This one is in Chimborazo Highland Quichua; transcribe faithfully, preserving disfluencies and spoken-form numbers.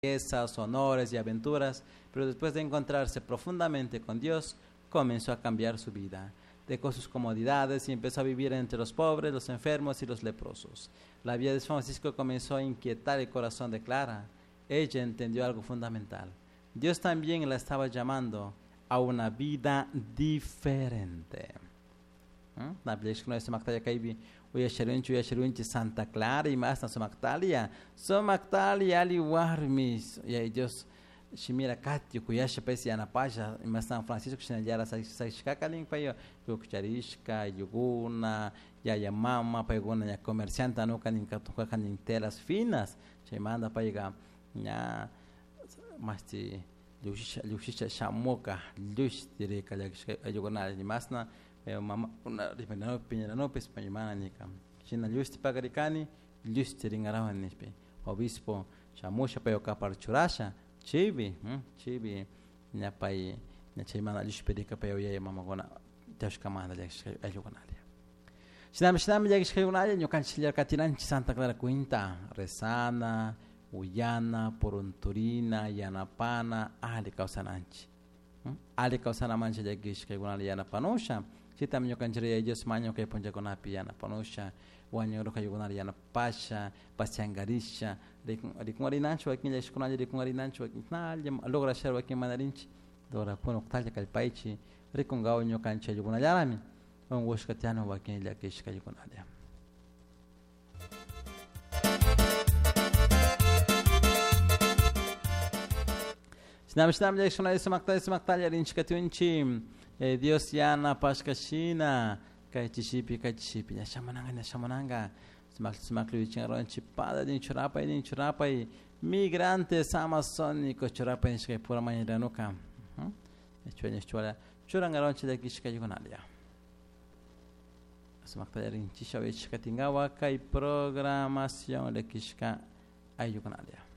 Riquezas, honores y aventuras, pero después de encontrarse profundamente con Dios, comenzó a cambiar su vida. Dejó sus comodidades y empezó a vivir entre los pobres, los enfermos y los leprosos. La vida de Francisco comenzó a inquietar el corazón de Clara. Ella entendió algo fundamental. Dios también la estaba llamando a una vida diferente. Na uyasharunchi uyasharunchi Santa Clara y más na sumaqtalia sumaqtalia ali warmis y Dios shimira kati kuyasha pes yanapasha ima San Francisco shinallara sakishkakalin pay kukcharishka yuguna yaya mama paykuna ña comerciante anuka nin katukanin telas finas chaymanta payka ña mashti llukshisha llukshisha shamuka llushtirika llakishka ayllukuna imasna mama una piñaranupis mana nika shina llushti pakarikani llushtirinkarawani nishpa obispo shamusha pay kapar churasha chaypi chaypi ña pay ña chaymanta llushpirika pay yaya mamakuna tiyashkamanta llakishka ayllukunalla shinami shinami llakishkaykunalla ñukanchik katinanchik Santa Clara cuenta rezana uyana purunturina yanapana ali kawsananchik ali kawsanamanchik llakishkaykunalla yanapanusha chitam ñukanchik Yaya Dios maño kay punllakunapi yanapanusha wañuruka yanapasha pasiankarisha rikungarinanchik wakin llakishkunalla rikungarinanchik wakin nalla lograshar wakin manarinchik lograkuna uktalla kallpaychik rikunkawan ñukanchik ayllukunallarami unkushka tiyana wakin llakishka ayllukunalla. Shinami shinami llakishkunalla sumaktalla sumaktalla rinchik katunchik Dios yanapashka shina kay chishipi kay chishipi ña shamunanka ña shamunanka sumakli sumakli wichinkaronchik pada nin churapay nin churapay migrantes amazónicos churapay nishka pura mañiranuka chuwa churankaronchik llakishka ayllukunalla sumaktalla rinchisha wichikatinkawa kay programación llakishka ayllukunalla.